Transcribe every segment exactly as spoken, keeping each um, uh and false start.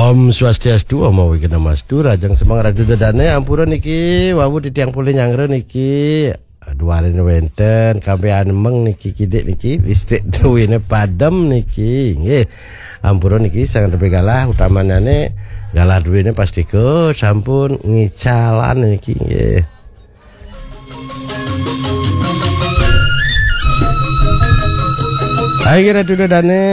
Om Swastiastu, Om Awighnamastu, Rajang Semeng Ratu Dadane, ampura niki, wau titiang polih nyanggra niki. Duaning wenten, kambe anemeng niki kidik niki, listrik druene padem niki, nggih. Ampura niki, sang tepi galah, utamanane galah druene pastika sampun ngicalan niki, nggih. Hai, Ratu Dadane.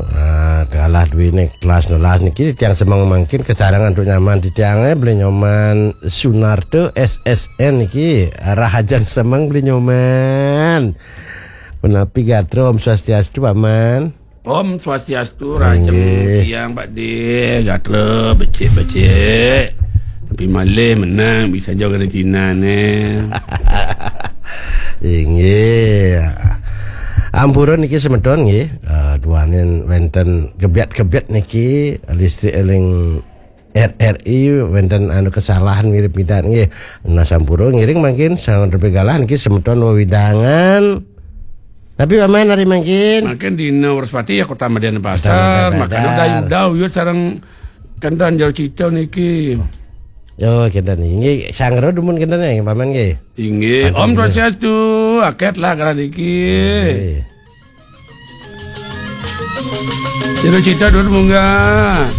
Ah, kalah duwene kelas nolas niki, tiang semeng mangkin kesarengan antuk nyaman titiange, Beli Nyoman Sunarto S S N niki, Rahajan Semeng, Beli Nyoman. Punapi gatra, Om Swastiastu, Paman. Om Swastiastu, Rajang Inggih. Siang, Pak De, gatra, becik-becik. Tapi malih menang, bisa jaga Cina ne. Inggih. Ampura niki semeton nggih. Eh, duaning wenten gebyet-gebyet niki, listrik eling R R I wenten anu kesalahan mirip pidan nggih. Nah, sampura ngiring mangkin, sang tepi galah niki semeton wewidangan. Tapi Paman hari mangkin. Mangkin dina Wrespati ya Kota Madya Pasar, Madya makanya Pasar. Dayu-dayu sareng kenten jero cita niki. Yo, kenten nggih. Sanggra dumun kenten nggih, Paman nggih. Inggih, Om Swastiastu, aket lah kala niki. Nggih. Jero cita dur munggah.